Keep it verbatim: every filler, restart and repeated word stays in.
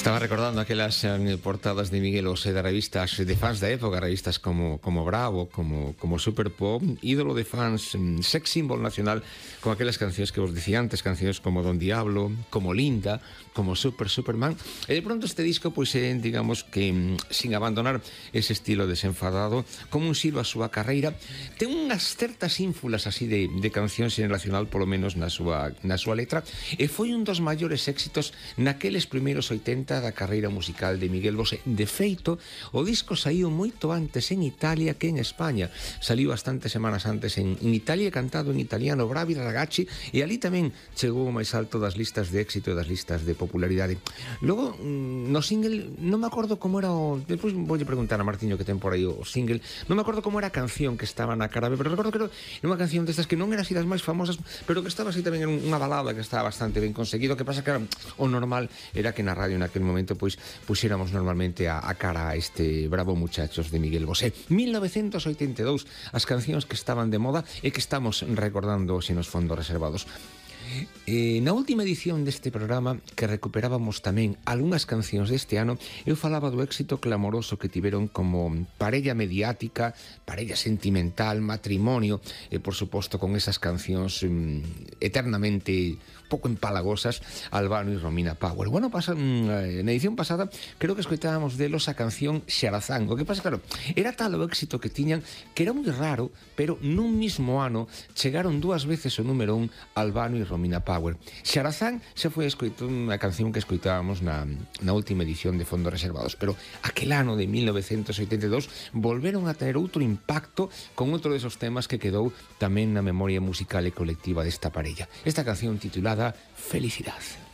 Estaba recordando aquelas eh, portadas de Miguel Bosé de revistas de fans da época, revistas como, como Bravo, como, como Super Pop, ídolo de fans, mm, sex symbol nacional, con aquelas cancións que vos dicía antes, cancións como Don Diablo, como Linda, como Super Superman. E de pronto este disco, pois, é, digamos que, mm, sin abandonar ese estilo desenfadado, como un silo a súa carreira, ten unhas certas ínfulas así de, de cancións nacional, polo menos na súa, na súa letra, e foi un dos maiores éxitos naqueles primeiros oitenta da carreira musical de Miguel Bosé. De feito, o disco saiu moito antes en Italia que en España. Saliu bastantes semanas antes en, en Italia, cantado en italiano, Bravi Ragazzi, e ali tamén chegou o máis alto das listas de éxito e das listas de popularidade. Logo, no single, non me acordo como era o... Depois voulle preguntar a Martiño que ten por aí o single, non me acordo como era a canción que estaba na cara B, pero recordo que era unha canción destas que non era así das máis famosas, pero que estaba así tamén en unha balada que estaba bastante ben conseguido. Que pasa que era, o normal era que na radio naquele momento pois puxéramos normalmente a, a cara a este Bravo Muchachos de Miguel Bosé. mil novecentos oitenta e dous, as cancións que estaban de moda e que estamos recordando hoxe nos fondos reservados. E na última edición deste programa, que recuperábamos tamén algunhas cancións deste ano, eu falaba do éxito clamoroso que tiveron como parella mediática, parella sentimental, matrimonio, e por suposto con esas cancións um, eternamente pouco empalagosas, Albano e Romina Power. Bueno, pasa, na edición pasada creo que escoitábamos delos a canción Xarazán. O que pasa, claro, era tal o éxito que tiñan que era moi raro, pero nun mismo ano chegaron dúas veces o número un Albano e Romina Power. Xarazán xa foi unha canción que escoitábamos na, na última edición de Fondos Reservados, pero aquel ano de mil novecentos oitenta e dous volveron a tener outro impacto con outro desos temas que quedou tamén na memoria musical e colectiva desta parella. Esta canción titulada Felicidad.